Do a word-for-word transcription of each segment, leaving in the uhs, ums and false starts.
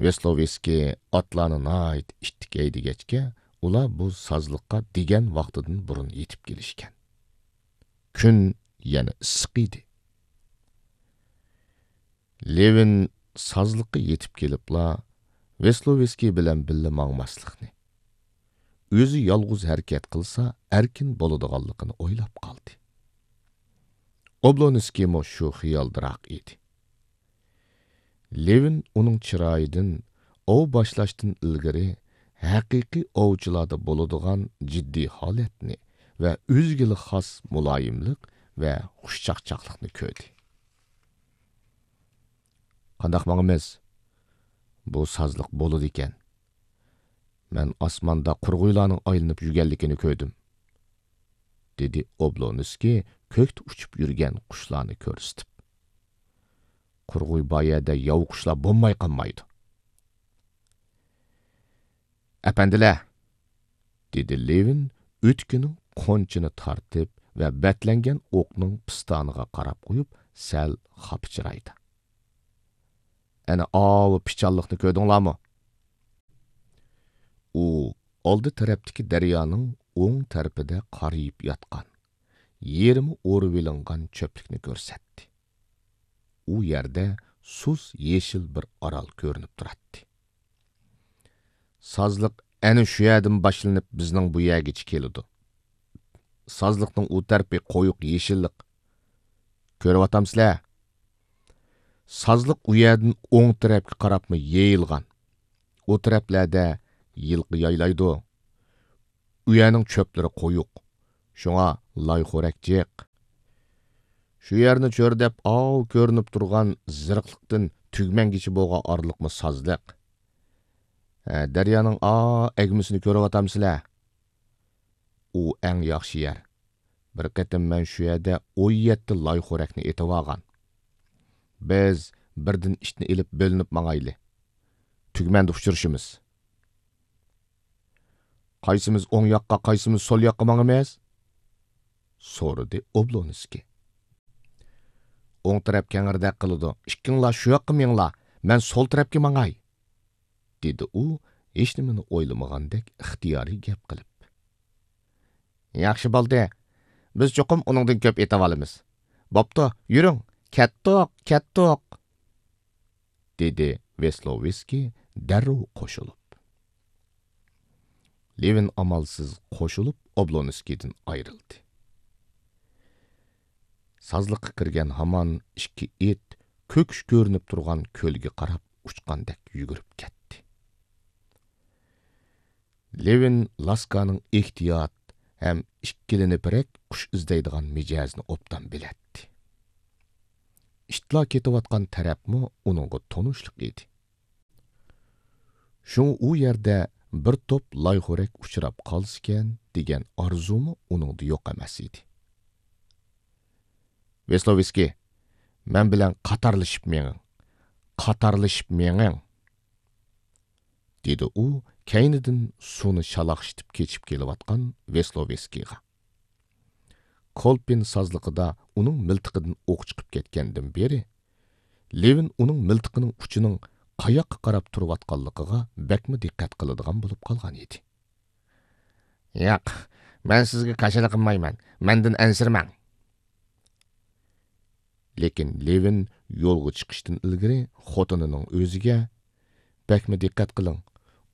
ۋېسلوۋېسكىي ئاتلارنى ناھايىتى ئىتتىك ھەيدىگەچكە، ئۇلار بۇ سازلىققا دېگەن ۋاقتىدىن بۇرۇن يېتىپ كېلىشكەن. كۈن يەنە ئىسسىق ئىدى. لېۋىن سازلىققا يېتىپ كېلىپلا، ۋېسلوۋېسكىي بىلەن بىللە ماڭماسلىقنى، ئۆزى يالغۇز ھەرىكەت قىلسا ئەركىن بولىدىغانلىقىنى ئويلاپ قالدى. ئوبلونسكىيمۇ شۇ خىيالدىراق ئىدى. لېۋىن ئۇنىڭ چىرايىدىن ئاۋ باشلاشتىن ئىلگىرى ھەقىقىي ئاۋچىلاردا بولىدىغان جىددىي ھالەتنى ۋە ئۆزىگىلا خاس مۇلايىملىق ۋە خۇشچاقچاقلىقنى كۆردى. «قانداق ماڭىمىز؟ بۇ سازلىق بولىدىكەن. مەن ئاسماندا قۇرغۇيلارنىڭ ئايلىنىپ يۈرگەنلىكىنى كۆردۈم»، دېدى ئوبلونسكىي كۆكتە ئۇچۇپ يۈرگەن قۇشلارنى كۆرسىتىپ. «قۇرغۇي بار يەردە ياۋا قۇشلار بولماي قالمايدۇ.» «ئەپەندىلەر!» دېدى لېۋىن ئۆتۈكىنىڭ قونچىنى تارتىپ ۋە بەتلەنگەن ئوقنىڭ پىستانىغا قاراپ قويۇپ، سەل خاپا چىرايدا. «ئەنە ئاۋۇ پىچانلىقنى كۆردۈڭلارمۇ؟» ئۇ ئالدى تەرەپتىكى دەريانىڭ ئوڭ تەرىپىدە قارىيىپ ياتقان، يېرىمى ئورۇۋېلىنغان چۆپلۈكنى كۆرسەتتى. ئۇ يەردە سۇس يېشىل بىر ئارال كۆرۈنۈپ تۇراتتى. «سازلىق ئەنە شۇ يەردىن باشلىنىپ بىزنىڭ بۇ يەرگىچە كېلىدۇ. سازلىقنىڭ ئۇ تەرىپى قويۇق يېشىللىق. كۆرۈۋاتامسىلەر؟ سازلىق ئۇ يەردىن ئوڭ تەرەپكە قاراپمۇ يېيىلغان. ئۇ تەرەپلەردە يىلقا يايلايدۇ. ئۇ يەرنىڭ چۆپلىرى قويۇق. شۇڭا لايخورەك جىق. شۇ يەرنى چۆرىدەپ ئاۋۇ كۆرۈنۈپ تۇرغان زىرىقلىقتىن تۈگمەنگىچە بولغان ئارىلىقمۇ سازلىق. ھە، دەريانىڭ ئا ئەگمىسىنى كۆرۈۋاتامسىلەر؟ ئۇ ئەڭ ياخشى يەر. بىر قېتىم مەن شۇ يەردە ئون يەتتە لايخورەكنى ئېتىۋالغان. بىز بىردىن ئىتنى ئېلىپ بۆلۈنۈپ ماڭايلى. تۈگمەندە ئۇچرىشىمىز.» «قايسىمىز ئوڭ ياققا، قايسىمىز سول ياققا ماڭىمىز؟» سورىدى ئوبلونسكىي. «ئوڭ تەرەپ كەڭرىدەك قىلىدۇ. ئىككىڭلار شۇ ياققا مېڭىڭلار، مەن سول تەرەپكە ماڭاي.» دېدى ئۇ ھېچنېمىنى ئويلىمىغاندەك ئىختىيارىي گەپ قىلىپ. «ياخشى بولدى. بىز چوقۇم ئۇنىڭدىن كۆپ ئېتىۋالىمىز. بوپتۇ، يۈرۈڭ، كەتتۇق، كەتتۇق!» دېدى ۋېسلوۋسكىي دەررۇ قوشۇلۇپ. لېۋىن ئامالسىز قوشۇلۇپ ئوبلونسكىيدىن ئايرىلدى. سازلىققا كىرگەن ھامان ئىككى ئىت كۆكۈش كۆرۈنۈپ تۇرغان كۆلگە قاراپ ئۇچقاندەك يۈگۈرۈپ كەتتى. لېۋىن لاسكانىڭ ئېھتىيات ھەم ئىككىلىنىپرەك قۇش ئىزدەيدىغان مىجەزىنى ئوبدان بىلەتتى. ئىتلار كېتىۋاتقان تەرەپمۇ ئۇنىڭغا تونۇشلۇق ئىدى. شۇڭا ئۇ يەردە بىر توپ لايخورەك ئۇچراپ قالسىكەن دېگەن ئارزۇمۇ ئۇنىڭدا يوق ئەمەس ئىدى. ۋېسلوۋسكىي، مەن بىلەن قاتارلىشىپ مېڭىڭ، قاتارلىشىپ مېڭىڭ! دېدى ئۇ كەينىدىن سۇنى شالاقشىتىپ كېچىپ كېلىۋاتقان ۋېسلوۋسكىيغا. كولپىن سازلىقىدا ئۇنىڭ مىلتىقىدىن ئوق چىقىپ كەتكەندىن بېرى، لېۋىن ئۇنىڭ مىلتىقىنىڭ ئۇچىنىڭ قاياققا قاراپ تۇرۇۋاتقانلىقىغا بەكمۇ دىققەت قىلىدىغان بولۇپ قالغان ئىدى. ياق، مەن سىزگە كاشىلا قىلمايمەن، مەندىن ئەنسىرىمەڭ. لېكىن لېۋىن يولغا چىقىشتىن ئىلگىرى خوتۇنىنىڭ ئۆزىگە، بەكمۇ دىققەت قىلىڭ،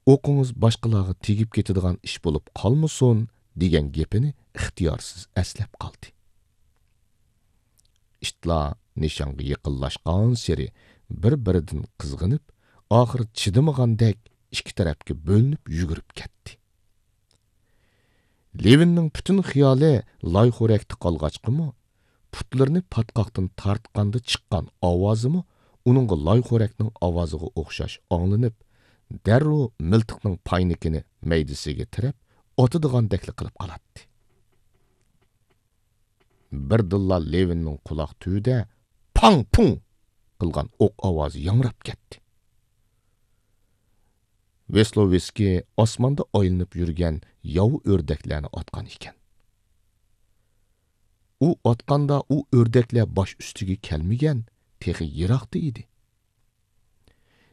ئوقىڭىز باشقىلارغا تېگىپ كېتىدىغان ئىش بولۇپ قالمىسۇن، دېگەن گېپىنى ئىختىيارسىز ئەسلەپ قالدى. ئىتلار نىشانغا يېقىنلاشقانسېرى بىر-بىرىدىن قىزغىنىپ، ئاخىرى چىدىمىغاندەك ئىككى تەرەپكە بۆلۈنۈپ يۈگۈرۈپ كەتتى. لېۋىننىڭ پۈتۈن خىيالى لايخورەكتە قالغاچقىمۇ، پۇتلىرىنى پاتقاقتىن تارتقاندا چىققان ئاۋازىمۇ ئۇنىڭغا لايخورەكنىڭ ئاۋازىغا ئوخشاش ئاڭلىنىپ، دەررۇ مىلتىقنىڭ پاينىكىنى مەيدىسىگە تىرەپ، ئاتىدىغاندەكلا قىلىپ قالاتتى. بىردىنلا لېۋىننىڭ قۇلاق تۈۋىدە پاڭ-پۇڭ قىلغان ئوق ئاۋازى ياڭراپ كەتتى. ۋېسلوۋسكىي ئاسماندا ئايلىنىپ يۈرگەن ياۋا ئۆردەكلەرنى ئاتقان ئىكەن. ئۇ ئاتقاندا ئۇ ئۆردەكلەر باش ئۈستىگە كەلمىگەن، تېخى يىراقتا ئىدى.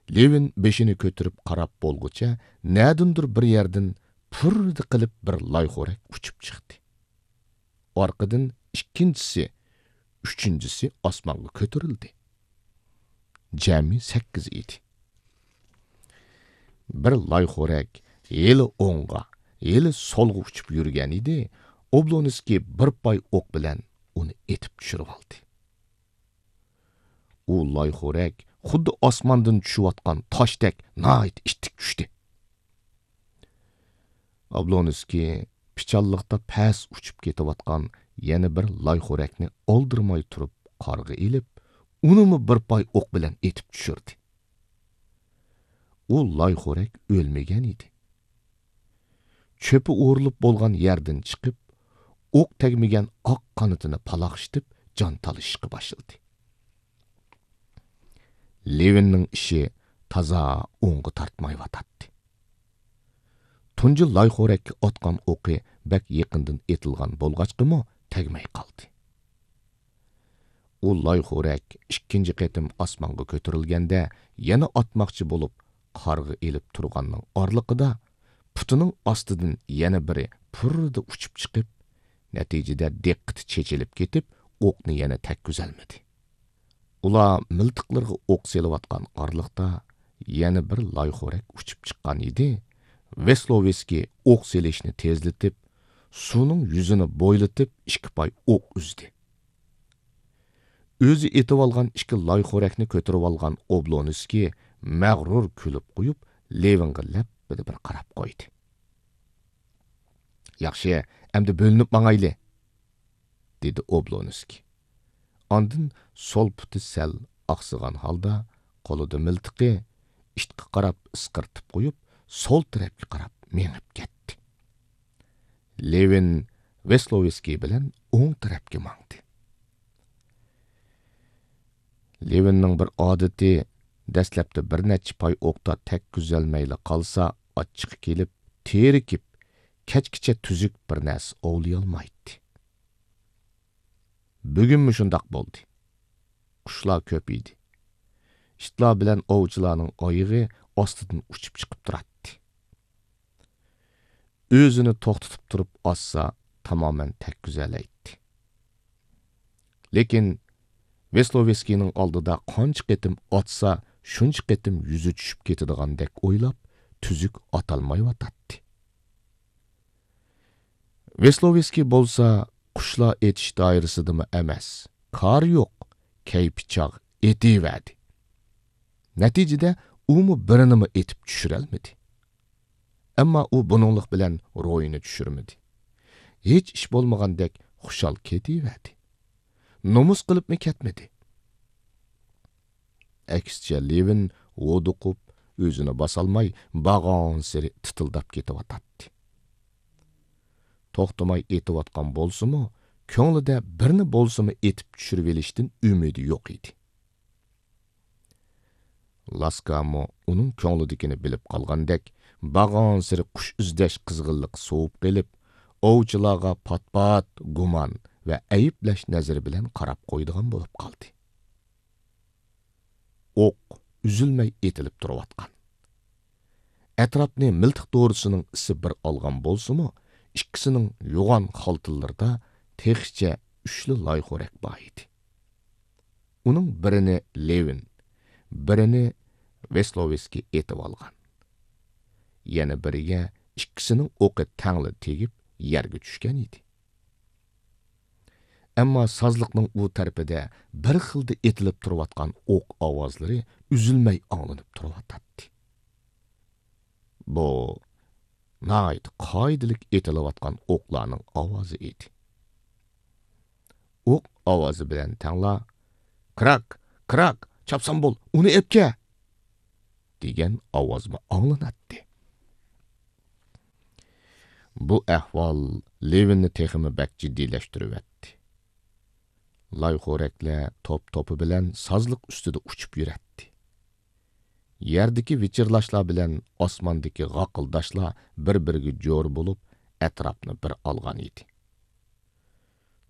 لېۋىن بېشىنى كۆتۈرۈپ قاراپ بولغۇچە، نەدىندۇر بىر يەردىن پۇررىدە قىلىپ بىر لايخورەك ئۇچۇپ چىقتى. ئارقىدىن ئىككىنچىسى، ئۈچىنچىسى ئاسمانغا كۆتۈرۈلدى. جەمئىي سەككىز ئىدى. بىر لايخورەك ھېلى ئوڭغا، ھېلى سولغا ئۇچۇپ يۈرگەن ئىدى، ئوبلونسكىي بىر پاي ئوق بىلەن ئۇنى ئېتىپ چۈشۈرۈۋالدى. ئۇ لايخورەك خۇددى ئاسماندىن چۈشۈۋاتقان تاشتەك ناھايىتى ئىتتىك چۈشتى. ئابلونسكىي پىچانلىقتا پەس ئۇچۇپ كېتىۋاتقان يەنە بىر لايخورەكنى ئالدىرىماي تۇرۇپ قارغا ئېلىپ، ئۇنىمۇ بىر پاي ئوق بىلەن ئېتىپ چۈشۈردى. ئۇ لايخورەك ئۆلمىگەن ئىدى. چۆپى ئورۇلۇپ بولغان يەردىن چىقىپ، ئوق تەگمىگەن ئاق قانىتىنى پالاقشىتىپ، جان تالىشىشقا باشلىدى. لېۋىننىڭ ئىشى تازا ئوڭغا تارتمايۋاتاتتى. تۇنجى لايخورەككە ئاتقان ئوقى بەك يېقىندىن ئېتىلغان بولغاچقىمۇ تەگمەي قالدى. ئۇ لايخورەك ئىككىنچى قېتىم ئاسمانغا كۆتۈرۈلگەندە، يەنە ئاتماقچى بولۇپ، قارغا ئېلىپ تۇرغاننىڭ ئارىلىقىدا پۇتىنىڭ ئاستىدىن يەنە بىرى پۇررىدە ئۇچۇپ چىقىپ، نەتىجىدە دىققىتى چېچىلىپ كېتىپ، ئوقنى يەنە تەگكۈزەلمىدى. ئۇلار مىلتىقلىرىغا ئوق سېلىۋاتقان ئارىلىقتا يەنە بىر لايخورەك ئۇچۇپ چىققان ئىدى. ۋېسلوۋېسكىي ئوق سېلىشنى تېزلىتىپ، سۇنىڭ يۈزىنى بويلىتىپ ئىككى پاي ئوق ئۈزدى. ئۆزى ئېتىۋالغان ئىككى لايخورەكنى كۆتۈرۈۋالغان ئوبلونسكىي مەغرۇر كۈلۈپ قويۇپ، لېۋىنغا لەپپىدە بىر قاراپ قويدى. ياخشى، ئەمدى بۆلۈنۈپ ماڭايلى، دېدى ئوبلونسكىي. ئاندىن سول پۇتى سەل ئاقسىغان ھالدا قولىدا مىلتىقى ئىتقا قاراپ ئىسقىرتىپ قويۇپ، سول تەرەپكە قاراپ مېڭىپ كەتتى. لېۋىن ۋېسلوۋېسكىي بىلەن ئوڭ تەرەپكە ماڭدى. لېۋىننىڭ بىر ئادىتى، دەسلەپتە بىر نەچچە پاي ئوقتا تەگكۈزەلمەيلا قالسا، ئاچچىقى كېلىپ، تېرىكىپ، كەچكىچە تۈزۈك بىر نەرسە ئوۋلىيالمايتتى. بۈگۈنمۇ شۇنداق بولدى. قۇشلار كۆپ ئىدى. ئىتلار بىلەن ئوۋچىلارنىڭ ئايىغى ئاستىدىن ئۇچۇپ چىقىپ تۇراتتى. ئۆزىنى توختىتىپ تۇرۇپ ئاتسا، تامامەن تەگكۈزەلەيتتى. لېكىن ۋېسلوۋېسكىينىڭ ئالدىدا قانچە قېتىم ئاتسا، شۇنچە قېتىم يۈزى چۈشۈپ كېتىدىغاندەك ئويلاپ، تۈزۈك ئاتالمايۋاتاتتى. ۋېسلوۋېسكىي بولسا قۇشلار ئېتىش دائىرىسىدىمۇ ئەمەس، كارى يوق، كەيپى چاغ ئېتىۋەردى. نەتىجىدە ئۇمۇ بىرىنىمۇ ئېتىپ چۈشۈرەلمىدى. ئەمما ئۇ بۇنىڭلىق بىلەن روھىنى چۈشۈرمىدى. ھېچ ئىش بولمىغاندەك خۇشال كېتىۋەردى. نومۇس قىلىپمۇ كەتمىدى. ئەكسىچە، لېۋىن ھودۇقۇپ، ئۆزىنى باسالماي، بارغانسېرى تىتىلداپ كېتىۋاتاتتى. توختىماي ئېتىۋاتقان بولسىمۇ، كۆڭلىدە بىرنى بولسىمۇ ئېتىپ چۈشۈرۈۋېلىشتىن ئۈمىدى يوق ئىدى. لاسكامۇ ئۇنىڭ كۆڭلىدىكىنى بىلىپ قالغاندەك، بارغانسېرى قۇش ئىزدەش قىزغىنلىقى سوۋۇپ قېلىپ، ئوۋچىلارغا پات-پات گۇمان ۋە ئەيىبلەش نەزىرى بىلەن قاراپ قويىدىغان بولۇپ قالدى. ئوق ئۈزۈلمەي ئېتىلىپ تۇرۇۋاتقان. ئەتراپنى مىلتىق دورىسىنىڭ ئىسى بىر ئالغان بولسىمۇ، ئىككىسىنىڭ يوغان خالتىلىرىدا تېخىچە ئۈچلا لايخورەك بار ئىدى. ئۇنىڭ بىرىنى لېۋىن، بىرىنى ۋېسلوۋېسكىي ئېتىۋالغان. يەنە بىرىگە ئىككىسىنىڭ ئوقى تەڭلا تېگىپ، يەرگە چۈشكەن ئىدى. ئەمما سازلىقنىڭ ئۇ تەرىپىدە بىر خىلدا ئېتىلىپ تۇرۇۋاتقان ئوق ئاۋازلىرى ئۈزۈلمەي ئاڭلىنىپ تۇرۇۋاتاتتى. بۇ ناھايىتى قائىدىلىك ئېتىلىۋاتقان ئوقلارنىڭ ئاۋازى ئىدى. ئوق ئاۋازى بىلەن تەڭلا، «كراك، كراك، چاپسان بول، ئۇنى ئەپكە!» دېگەن ئاۋازمۇ ئاڭلىناتتى. بۇ ئەھۋال لېۋىننى تېخىمۇ بەك جىددىيلەشتۈرۈۋەتتى. لايخورەكلەر توپ-توپى بىلەن سازلىق ئۈستىدە ئۇچۇپ يۈرەتتى. يەردىكى ۋىچىرلاشلار بىلەن ئاسماندىكى غاقىلداشلار بىر-بىرىگە جور بولۇپ، ئەتراپنى بىر ئالغان ئىدى.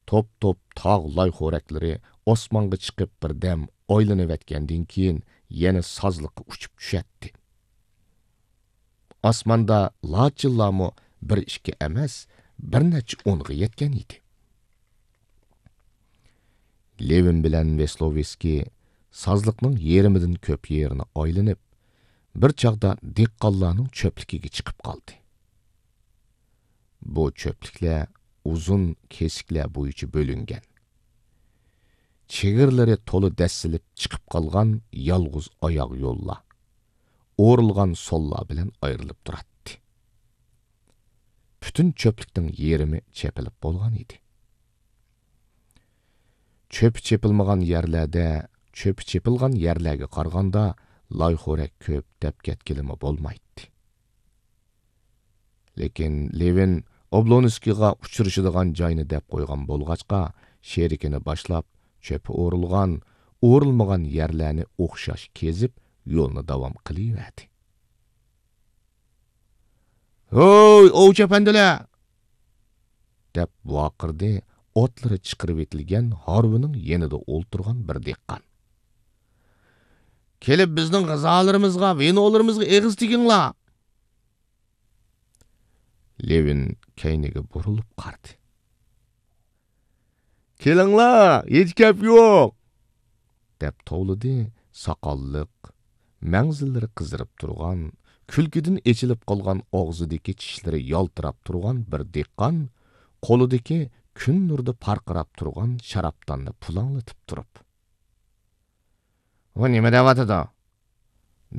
توپ-توپ تاغ لايخورەكلىرى ئاسمانغا چىقىپ بىردەم ئايلىنىۋەتكەندىن كېيىن، يەنە سازلىققا ئۇچۇپ چۈشەتتى. ئاسماندا لاچىنلارمۇ بىر ئىككى ئەمەس، بىر نەچچە ئونغا يەتكەن ئىدى. لېۋىن بىلەن ۋېسلوۋېسكىي سازلىقنىڭ يېرىمىدىن كۆپ يېرىنى ئايلىنىپ، بىر چاغدا دېھقانلارنىڭ چۆپلۈكىگە چىقىپ قالدى. بۇ چۆپلۈكلەر ئۇزۇن كېسىكلەر بويىچە بۆلۈنگەن. چېگرىلىرى تولا دەسسىلىپ چىقىپ قالغان يالغۇز ئاياغ يوللار، ئورۇلغان سوللار بىلەن ئايرىلىپ تۇراتتى. پۈتۈن چۆپلۈكنىڭ يېرىمى چېپىلىپ بولغان ئىدى. چۆپى چېپىلمىغان يەرلەردە، چۆپى چېپىلغان يەرلەرگە قارىغاندا لايخورەك كۆپ دەپ كەتكىلىمۇ بولمايتتى. لېكىن لېۋىن ئوبلونسكىيغا ئۇچرىشىدىغان جاينى دەپ قويغان بولغاچقا، شېرىكىنى باشلاپ، چۆپى ئورۇلغان، ئورۇلمىغان يەرلەرنى ئوخشاش كېزىپ، يولنى داۋام قىلىۋەردى. «ھوي، ئوۋچى ئەپەندىلەر!» دەپ ۋارقىرىدى ئاتلىرى چىقىرىۋېتىلگەن ھارۋىنىڭ يېنىدا ئولتۇرغان بىر دېھقان. «كېلىپ بىزنىڭ غىزالىرىمىزغا، ۋىنولىرىمىزغا ئېغىز تېگىڭلار!» لېۋىن كەينىگە بۇرۇلۇپ قارىدى. «كېلىڭلار، ھېچ گەپ يوق!» دەپ توۋلىدى ساقاللىق، مەڭزىلىرى قىزىرىپ تۇرغان، كۈلكىدىن ئېچىلىپ قالغان ئاغزىدىكى چىشلىرى يالتىراپ تۇرغان بىر دېھقان، قولىدىكى كۈن نۇرىدا پارقىراپ تۇرغان شارابداننى پۇلاڭلىتىپ تۇرۇپ. «بۇ نېمە دەۋاتىدۇ؟»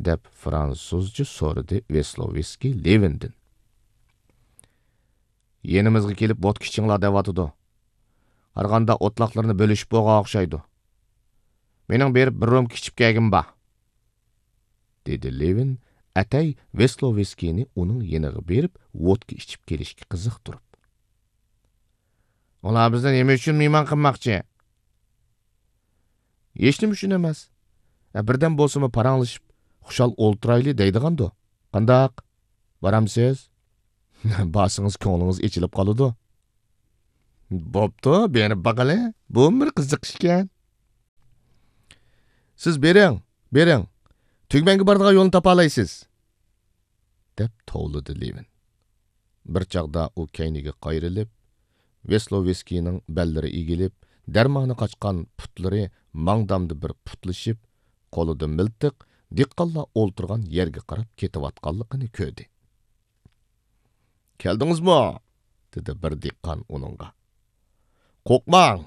دەپ فرانسۇزچە سورىدى ۋېسلوۋېسكىي لېۋىندىن. «يېنىمىزغا كېلىپ ۋودكا ئىچىڭلار دەۋاتىدۇ. قارىغاندا ئوتلاقلىرىنى بۆلۈشۈپ بولغان ئوخشايدۇ. مېنىڭ بېرىپ بىر رومكا ئىچىپ كەلگۈم بار.» دېدى لېۋىن ئەتەي ۋېسلوۋېسكىينى ئۇنىڭ يېنىغا بېرىپ ۋودكا ئىچىپ كېلىشكە قىزىقتۇرۇپ. «ئۇلار بىزنى نېمە ئۈچۈن مېھمان قىلماقچى؟» «ھېچنېمە ئۈچۈن ئەمەس. ئە، بىردەم بولسىمۇ پاراڭلىشىپ، خۇشال ئولتۇرايلى دەيدىغاندۇ. قانداق؟ بارامسىز؟» «بارسىڭىز كۆڭلىڭىز ئېچىلىپ قالىدۇ.» «بوپتۇ، بېرىپ باقىلى. بۇمۇ بىر قىزىقىش ئىكەن.» «سىز بېرىڭ، بېرىڭ. تۈگمەنگە بارىدىغان يولنى تاپالايسىز.» دەپ توۋلىدى لېۋىن. بىر چاغدا ئۇ كەينىگە قايرىلىپ، ۋېسلوۋېسكىينىڭ بەللىرى ئېگىلىپ، دەرمانى قاچقان پۇتلىرى ماڭدامدا بىر پۇتلىشىپ، قولىدا مىلتىق، دېھقانلار ئولتۇرغان يەرگە قاراپ كېتىۋاتقانلىقىنى كۆردى. «كەلدىڭىزمۇ؟» دېدى بىر دېھقان ئۇنىڭغا. «قورقماڭ،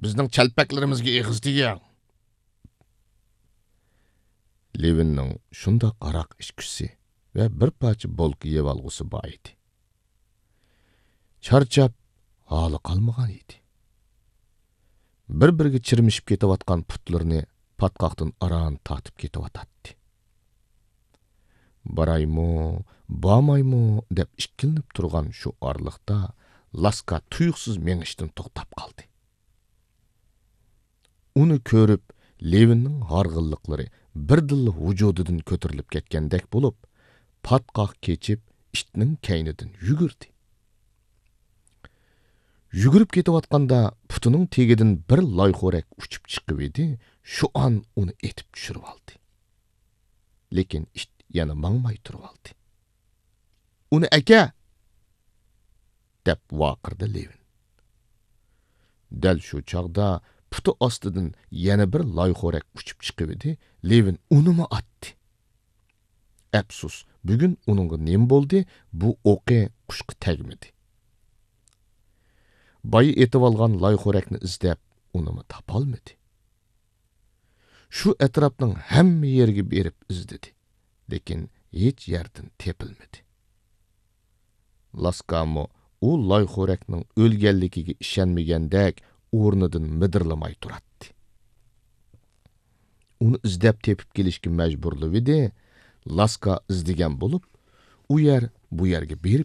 بىزنىڭ چەلپەكلىرىمىزگە ئېغىز تېگىڭ.» لېۋىننىڭ شۇنداق ھاراق ئىچكۈسى ۋە بىر پارچە بولكا يەۋالغۇسى بار ئىدى. چارچاپ، ھالى قالمىغان ئىدى. بىر-بىرىگە چىرمىشىپ كېتىۋاتقان پۇتلىرىنى پاتقاقتىن ئاران تارتىپ كېتىۋاتاتتى. «بارايمۇ، بارمايمۇ؟» دەپ ئىككىلىنىپ تۇرغان شۇ ئارىلىقتا لاسكا تۇيۇقسىز مېڭىشتىن توختاپ قالدى. ئۇنى كۆرۈپ، لېۋىننىڭ ھارغىنلىقلىرى بىردىنلا ۋۇجۇدىدىن كۆتۈرۈلۈپ كەتكەندەك بولۇپ، پاتقاق كېچىپ، ئىتنىڭ كەينىدىن يۈگۈردى. يۈگۈرۈپ كېتىۋاتقاندا پۇتىنىڭ تېگىدىن بىر لايخورەك ئۇچۇپ چىقىۋىدى، شۇ ئان ئۇنى ئېتىپ چۈشۈرۈۋالدى. لېكىن ئىت يەنە ماڭماي تۇرۇۋالدى. «ئۇنى ئەكە!» دەپ ۋارقىرىدى لېۋىن. دەل شۇ چاغدا پۇتى ئاستىدىن يەنە بىر لايخورەك ئۇچۇپ چىقىۋىدى، لېۋىن ئۇنىمۇ ئاتتى. ئەپسۇس، بۈگۈن ئۇنىڭغا نېمە بولدى، بۇ ئوقى قۇشقا تەگمىدى. بايا ئېتىۋالغان لايخورەكنى ئىزدەپ، ئۇنىمۇ تاپالمىدى. شۇ ئەتراپنىڭ ھەممە يېرىگە بېرىپ ئىزدىدى، لېكىن ھېچ يەردىن تېپىلمىدى. لاسكامۇ ئۇ لايخورەكنىڭ ئۆلگەنلىكىگە ئىشەنمىگەندەك ئورنىدىن مىدىرلىماي تۇراتتى. ئۇنى ئىزدەپ تېپىپ كېلىشكە مەجبۇرلىۋىدى، لاسكا ئىزدىگەن بولۇپ، ئۇ يەر، بۇ يەرگە بېرىپ